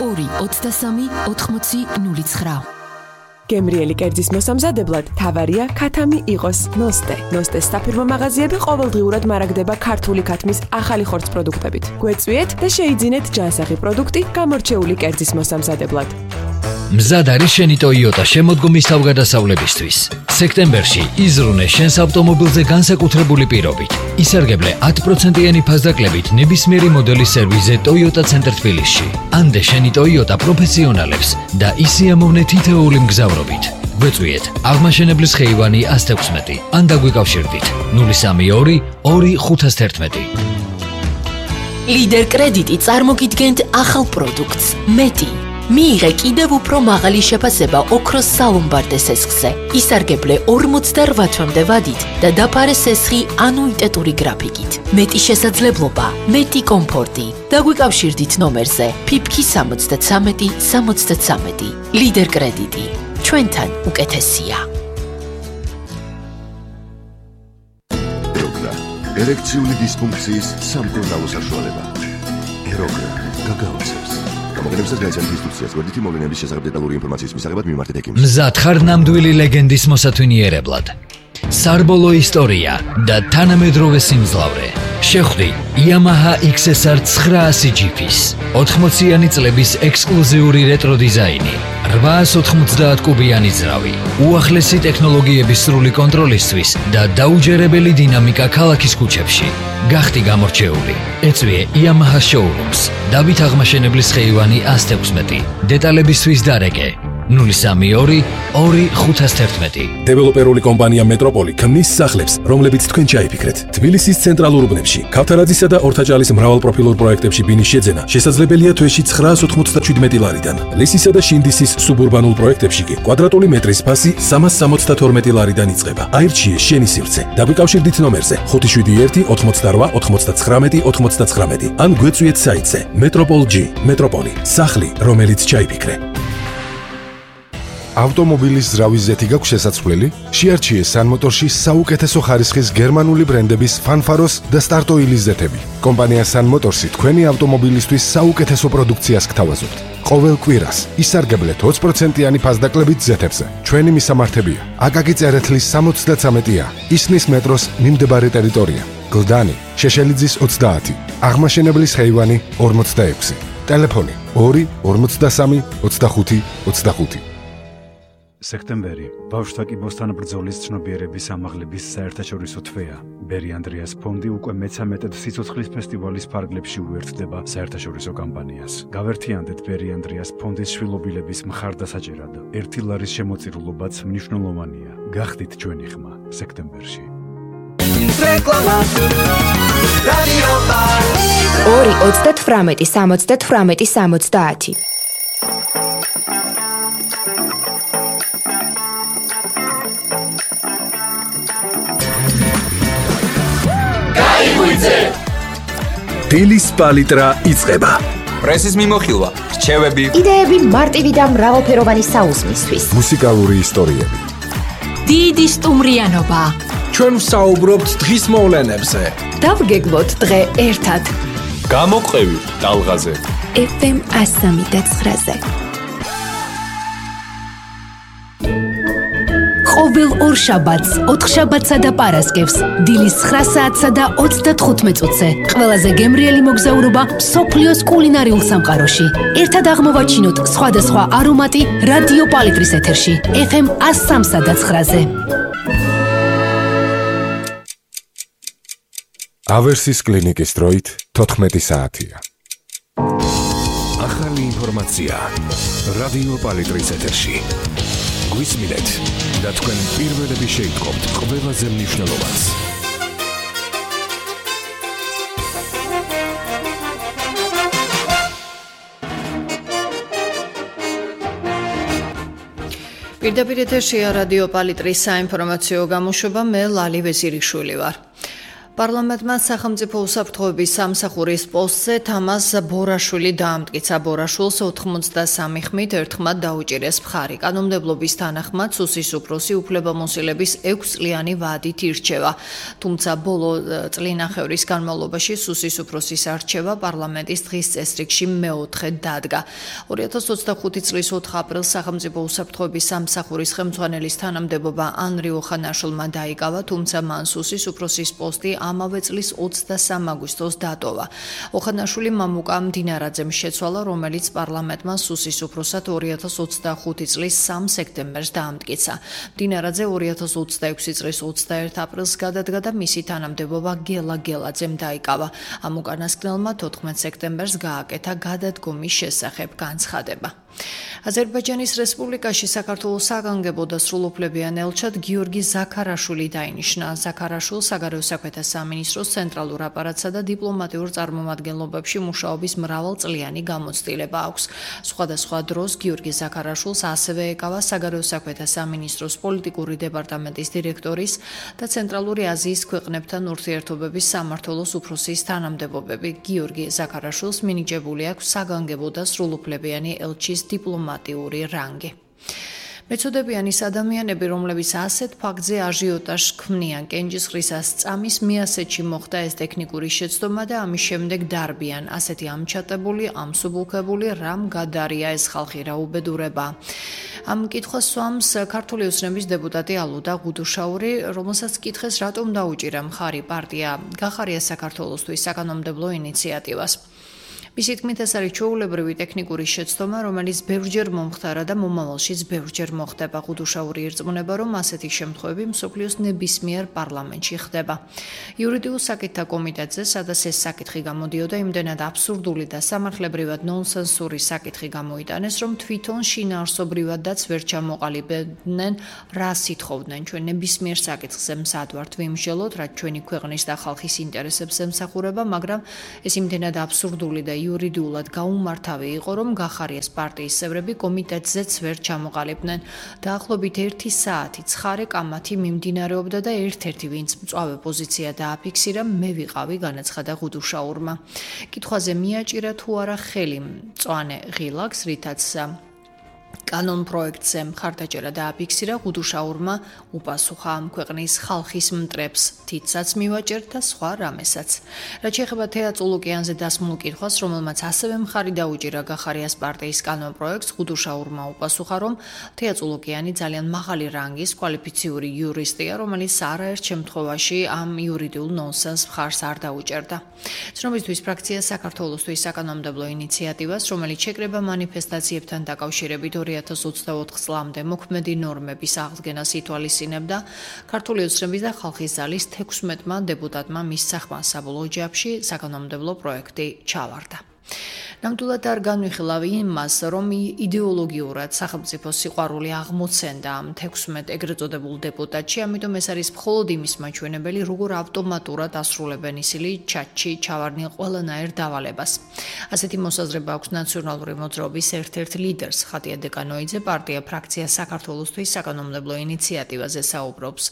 223 8009. გემრიელი კერძის მოსამზადებლად თავარია ქათამი იყოს ნოსტე. ნოსტეს საფირმო მაღაზიები ყოველდღიურად მარაგდება ქართული ქათმის ახალი ხორცს პროდუქტებით. გვეწვიეთ და შეიძინეთ ჯანსაღი პროდუქტი გამორჩეული კერძის მოსამზადებლად. მზად არის შენი Toyota შემოდგომის თავგადასავლებისთვის. სექტემბერში იზრუნე შენს ავტომობილზე განსაკუთრებული პირობით. ისარგებლე 10%-იანი ფასდაკლებით ნებისმიერი მოდელის სერვიზზე Toyota ცენტრ თბილისში. ანდე შენი Toyota პროფესიონალებს და ისიამოვნე თითოეული მგზავრობით. გვეწვიეთ აღმაშენებლის ხეივანი 116 ან დაგვიკავშირდით 032 2511. ლიდერ კრედიტი წარმოგიდგენთ ახალ პროდუქტს მეტი. მიიღე კიდევ უფრო მაღალი შეფასება ოქროს სალომბარდე სესხზე. ისარგებლე 48 თვემდე ვადით და დაფარე სესხი ანუიტეტური გრაფიკით. მეტი შესაძლებლობა, მეტი კომფორტი. დაგვიკავშირდით ნომერზე ფიფქი 73 73. ლიდერ კრედიტი. ჩვენთან უკეთესია. ეროგრა, ერექციული დისფუნქციის სამკურნალო საშუალება. ეროგრა, გაგაოცებს. გამოგონებისას გაიცანთ ინსტრუქციას, გვერდითი მოვლენების შესახებ დეტალური ინფორმაციის მისაღებად მიმართეთ ექიმს. მზად ხარ ნამდვილი ლეგენდის მოსათვინიერებლად. სარბოლო ისტორია და თანამედროვე სიმძლავრე. შეხვდი Yamaha XSR 900 GP-ს 80-იანი წლების ექსკლუზიური რეტრო დიზაინი, 890 კუბიანი ძრავი, უახლესი ტექნოლოგიების სრული კონტროლისთვის და დაუჯერებელი დინამიკა ქალაქის ქუჩებში. გახდი გამორჩეული. ეწვიე Yamaha showrooms. დავით აღმაშენებლის ხეივანი 116. დეტალებისთვის დარეკე 032 2511. დეველოპერული კომპანია მეტროპოლი ქმნის სახლებს, რომლებიც თქვენ ჩაიფიქრეთ. თბილისის ცენტრალურ უბნებში, ქავთარაძისა და ორთაჭალის მრავალპროფილურ პროექტებში ბინის შეძენა შესაძლებელია თვეში 997 ლარიდან. ლისისა და შინდისის სუბურბანულ პროექტებში კი კვადრატული მეტრის ფასი 372 ლარიდან იწყება. აირჩიე შენი სივრცე. დაგვიკავშირდით ნომერზე 571 88 99 99 ან გვეწვიეთ საიტზე Metropol.G. მეტროპოლი, სახლი, რომელიც ჩაიფიქრე. ავტომობილის ზრავის ზეთი გაქვს შესაძლებელი? შეარჩიე სანმოტორში საუკეთესო ხარისხის გერმანული ბრენდების Fanfaros და Start-Oil-ის ზეთები. კომპანია სანმოტორსი თქვენი ავტომობილისთვის საუკეთესო პროდუქციას გთავაზობთ. ყოველ კვირას ისარგებლეთ 20%-იანი ფასდაკლებით ზეთებზე. ჩვენი მისამართებია: აკაკი წერეთლის 73-ა, ისნის მეტროს მიმდებარე ტერიტორია, გლდანი, შეშელიძის 30, აღმაშენებლის ხეივანი 46, ტელეფონი 2 53 25 25. სექტემბერი ბავშვთა კიბოსთან ბრძოლის ცნობიერების ამაღლების საერთაშორისო თვეა. ბერი ანდრიას ფონდი უკვე მე-13 სიცოცხლის ფესტივალის ფარგლებში უერთდება საერთაშორისო კამპანიას. გავერთიანდეთ ბერი ანდრიას ფონდის შვილობილების მხარდასაჭერად. 1 ლარის შემოწირულობაც მნიშვნელოვანია. გახდით ჩვენი ხმა სექტემბერში. რეკლამა რადიო ბარ 2 38 78 70. დილის პალიტრა იწყება. პრესის მიმოხილვა, რჩევები, იდეები მარტივი და მრავალფეროვანი საუზმისთვის. მუსიკალური ისტორიები. დიდი სტუმრიანობა. ჩვენ ვსაუბრობთ დღის მოვლენებზე. დავგეგმოთ დღე ერთად. გამოყევი ტალღაზე. FM 103.9-ზე. ყოველ ორშაბათს, ოთხშაბათსა და პარასკევს, დილის 9 საათსა და 35 წუთზე. ყველაზე გემრიელი მოგზაურობა მსოფლიოს კულინარიულ სამყაროში. ერთად აღმოვაჩინოთ სხვადასხვა არომატი რადიო პალიტრის ეთერში, FM 103.9-ზე. ავერსის კლინიკის დროით 14 საათია. ახალი ინფორმაცია რადიო პალიტრის ეთერში. გვისმინეთ და თქვენ პირველები შეიტყობთ ყველაზე მნიშვნელოვანს. პირდაპირ ეთერშია რადიო პალიტრის საინფორმაციო გამოშვება, მე ლალი ვეზირიშვილი ვარ. პარლამენტმა სახელმწიფო უსაფრთხოების სამსახურის პოსტზე თამაზ ბორაშვილი დაამტკიცა. ბორაშვილს 83 ხმით ერთხმად დაუჭირეს მხარი. კანონმდებლობის თანახმად სუსის უფროსი უფლებამოსილების 6 წლიანი ვადით ირჩევა. თუმცა ბოლო წლინახევრის განმავლობაში სუსის უფროსის არჩევა პარლამენტის დღის წესრიგში მეოთხედ დადგა. 2025 წლის 4 აპრილს სახელმწიფო უსაფრთხოების სამსახურის ხელმძღვანელის თანამდებობა ანრი ოხანაშვილმა დაიკავა, თუმცა მან სუსის უფროსის პოსტი ამავე წლის 23 აგვისტოს დატოვა. ოხანაშვილი მამუკა მდინარაძემ შეცვალა, რომელიც პარლამენტმა სუსის უფროსად 2025 წლის 3 სექტემბერს დაამტკიცა. მდინარაძე 2026 წლის 21 აპრილს გადადგა და მისი თანამდებობა გელა გელაძემ დაიკავა. ამ უკანასკნელმა 14 სექტემბერს გააკეთა გადადგომის შესახებ განცხადება. აზერბაიჯანის რესპუბლიკაში საქართველოს საგანგებო და სრულუფლებიან ელჩად გიორგი ზაქარაშვილი დაინიშნა. ზაქარაშვილს საგარეო საქმეთა სამინისტროს ცენტრალურ აპარატსა და დიპლომატიურ წარმომადგენლობებში მუშაობის მრავალწლიანი გამოცდილება აქვს. სხვადასხვა დროს გიორგი ზაქარაშვილს ასევე ეკავა საგარეო საქმეთა სამინისტროს პოლიტიკური დეპარტამენტის დირექტორის და ცენტრალური აზიის ქვეყნებთან ურთიერთობების სამმართველოს უფროსის თანამდებობები. გიორგი ზაქარაშვილს მინიჭებული აქვს საგანგებო და სრულუფლებიანი ელჩის დიპლომატიური რანგი. მეწოდებიანი ადამიანები, რომლებიც ასეთ ფაქტზე აჟიოტაჟს ქმნიან, კენჭისყრისას წამის მიასეთში მოხდა ეს ტექნიკური შეცდომა და ამის შემდეგ დარბიან. ასეთი ამჩატებული, ამსუბუქებული, რამ გადარია ეს ხალხი, რა უბედურება. ამ კითხვას სვამს ქართული ოცნების დეპუტატი ალუდა გუდუშაური, რომელსაც კითხეს, რატომ დაუჭირა მხარი პარტია გახარია საქართველოსთვის საკანონმდებლო ინიციატივას. მისი თქმით, ეს არის ჩვეულებრივი ტექნიკური შეცდომა, რომელიც ბევრჯერ მომხდარა და მომავალშიც ბევრჯერ მოხდება. გუდუშაური ირწმუნება, რომ ასეთი შემთხვევები მსოფლიოს ნებისმიერ პარლამენტში ხდება. იურიდიულ საკითხთა კომიტეტზე, სადაც ეს საკითხი გამოდიოდა, იმდენად აბსურდული და სამართლებრივად ნონსენსური საკითხი გამოიტანეს, რომ თვითონ შინაარსობრივადაც ვერ ჩამოყალიბებდნენ, რა სითხოვდნენ. ჩვენ ნებისმიერ საკითხზე მზად ვართ ვიმსჯელოთ, რაც ჩვენი ქვეყნის და ხალხის ინტერესებს ემსახურება, მაგრამ ეს იმდენად აბსურდული და იურიდიულად გაუმართავი იყო, რომ გახარიას პარტიის წევრები კომიტეტზეც ვერ ჩამოყალიბდნენ. დაახლოებით 1 საათი ცხარე კამათი მიმდინარეობდა და ერთ-ერთი, ვინც მწვავე პოზიცია დააფიქსირა, მე ვიყავი, განაცხადა გუდუშაურმა. კითხვაზე მიაჭირა თუ არა ხელი მწვანე ღილაკს, რითაც კანონ პროექტზე მხარდაჭერა დააფიქსირა, გუდუშაურმა უპასუხა ამ ქვეყნის ხალხის მტრებს, თითსაც მივაჭერთ და სხვა რამესაც. რაც შეეხება თეატრ ოკეანზე დასმულ კითხვას, რომელმაც ასევე მხარი დაუჭირა გახარიას პარტიის კანონ პროექტს, გუდუშაურმა უპასუხა, რომ თეატრ ოკეანი ძალიან მაღალი რანგის კვალიფიციური იურისტია, რომელიც არაერთ შემთხვევაში ამ იურიდიულ ნონსენს მხარს არ დაუჭერდა. ცნობისთვის ფრაქცია საქართველოსთვის საკანონმდებლო ინიციატივას, რომელიც შეკრება მანიფესტაციებთან დაკავშირებით 2024 წლამდე მოქმედი ნორმების აღდგენას ითვალისწინებდა. ქართული ოცნების და ხალხის ძალის 16-მა დეპუტატმა მის სახმას საბოლოო ჯამში საკანონმდებლო პროექტი ჩავარდა. ნამდვილად არ განვიხილავი იმას, რომ იდეოლოგიურად სახელმწიფო სიყვარული აღმოცენდა ამ 16 ეგრეთ წოდებულ დეპუტატში, ამიტომ ეს არის მხოლოდ იმის მაჩვენებელი, როგორ ავტომატურად ასრულებენ ისინი ჩატში ჩავარდნილ ყველანაირ დავალებას. ასეთი მოსაზრება აქვს ნაციონალური მოძრაობის ერთ-ერთ ლიდერს, ხატია დეკანოიძე, პარტია ფრაქცია საქართველოსთვის საკანონმდებლო ინიციატივაზე საუბრობს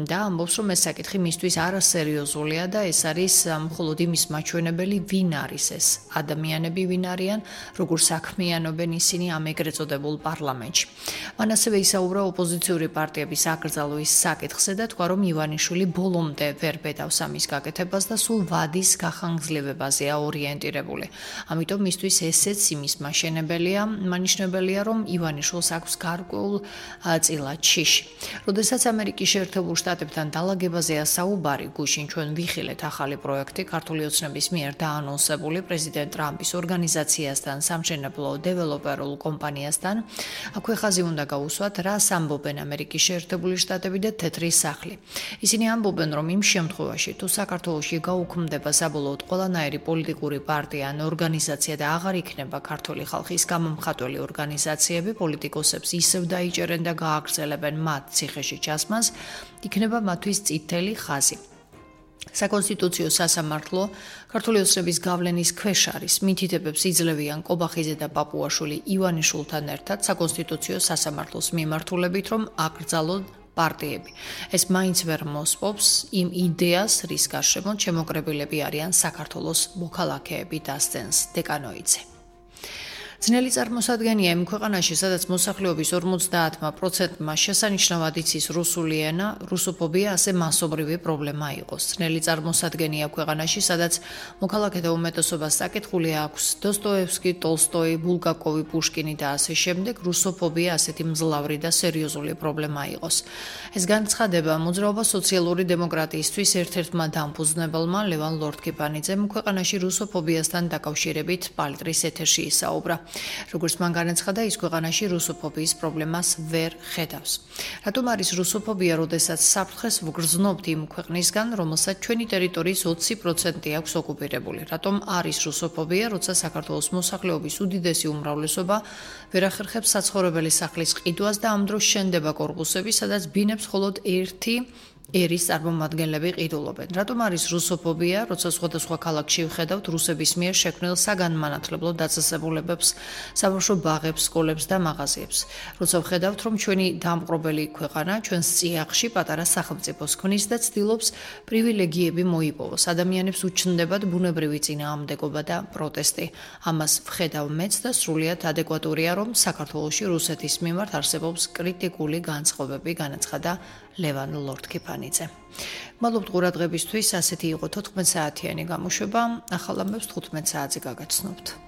და ამბობს, რომ ეს საკითხი მისთვის არასერიოზულია და ეს არის მხოლოდ იმის მაჩვენებელი, ვინ არის ეს ადამიანები, ვინ არიან, როგორ საქმიანობენ ისინი ამ ეგრეთ წოდებულ პარლამენტში. მან ასევე ისაუბრა ოპოზიციური პარტიების აკრძალვის საკითხზე და თქვა, რომ ივანიშვილი ბოლომდე ვერ ბედავს ამის გაკეთებას და სულ ვადის გახანგრძლივებაზეა ორიენტირებული. ამიტომ მისთვის ესეც იმის მანიშნებელია, რომ ივანიშვილს აქვს გარკვეულ წილად შიში. როდესაც ამერიკის შეერთებულ შტატებთან დალაგებაზეა საუბარი, გუშინ ჩვენ ვიხილეთ ახალი პროექტი ქართული ოცნების მიერ დაანონსებული პრეზიდენტ ტრამპის ორგანიზაციასთან, სამშენებლო დეველოპერულ კომპანიასთან, აქვე ხაზი უნდა გაუსვათ, რას ამბობენ ამერიკის შეერთებული შტატები და თეთრი სახლი. ისინი ამბობენ, რომ იმ შემთხვევაში, თუ საქართველოში გაუქმდება საბოლოოდ ყველანაირი პოლიტიკური პარტია ან ორგანიზაცია და აღარ იქნება ქართული ხალხის გამომხატველი ორგანიზაციები, პოლიტიკოსებს ისევ დაიჭერენ და გააგრძელებენ მათ ციხეში ჩასმას, იქნება მათთვის წითელი ხაზი. საკონსტიტუციო სასამართლო ქართული ოცნების გავლენის ქვეშ არის. მითითებებს იძლევიან კობახიძე და პაპუაშვილი ივანიშვილთან ერთად საკონსტიტუციო სასამართლოს მიმართულებით, რომ აკრძალონ პარტიები. ეს მაინც ვერ მოსპობს იმ იდეას, რის გარშემო შემოკრებილები არიან საქართველოს მოქალაქეები, დასცენს დეკანოიძე. ძნელი წარმოსადგენია იმ ქვეყანაში, სადაც მოსახლეობის 50%-მა შესანიშნავად იცის რუსული ენა, რუსოფობია ასე მასობრივი პრობლემა იყოს. ძნელი წარმოსადგენია ქვეყანაში, სადაც მოქალაქეთა უმეტესობას საკითხული აქვს დოსტოევსკი, ტოლსტოი, ბულგაკოვი, პუშკინი და ასე შემდეგ, რუსოფობია ასეთი მძლავრი და სერიოზული პრობლემა იყოს. ეს განცხადება მოძრაობა სოციალური დემოკრატიისთვის ერთ-ერთმა დამფუძნებელმა ლევან ლორთქიფანიძემ ქვეყანაში რუსოფობიასთან დაკავშირებით პალიტრის ეთერში ისაუბრა. როგორც მან განაცხადა, ის ქვეყანაში რუსოფობიის პრობლემას ვერ ხედავს. რატომ არის რუსოფობია, როდესაც საფრთხეს ვგრძნობთ იმ ქვეყნისგან, რომელსაც ჩვენი ტერიტორიის 20% აქვს ოკუპირებული? რატომ არის რუსოფობია, როცა საქართველოს მოსახლეობის უდიდესი უმრავლესობა ვერ ახერხებს საცხოვრებელი სახლის ყიდვას და ამ დროს შენდება კორპუსები, სადაც ბინებს მხოლოდ ერთი ერის წარმომადგენლები ყიდულობენ. რატომ არის რუსოფობია, როცა სხვადასხვა ქალაქში ვხედავთ რუსების მიერ შექმნილ საგანმანათლებლო დაწესებულებებს, საბავშვო ბაღებს, სკოლებს და მაღაზიებს. როცა ვხედავთ, რომ ჩვენი დამპყრობელი ქვეყანა ჩვენს წიაღში პატარა სახელმწიფოს ქმნის და ცდილობს პრივილეგიები მოიპოვოს. ადამიანებს უჩნდებათ ბუნებრივი წინააღმდეგობა და პროტესტი. ამას ვხედავ მეც და სრულიად ადეკვატურია, რომ საქართველოში რუსეთის მიმართ არსებობს კრიტიკული განწყობები, განაცხადა ლევან ლორთქიფანიძე. მადლობთ ყურადღებისთვის, ასეთი იყო 14 საათიანი გამოშვება. ახალ ამბებს 15 საათზე გაგაცნობთ.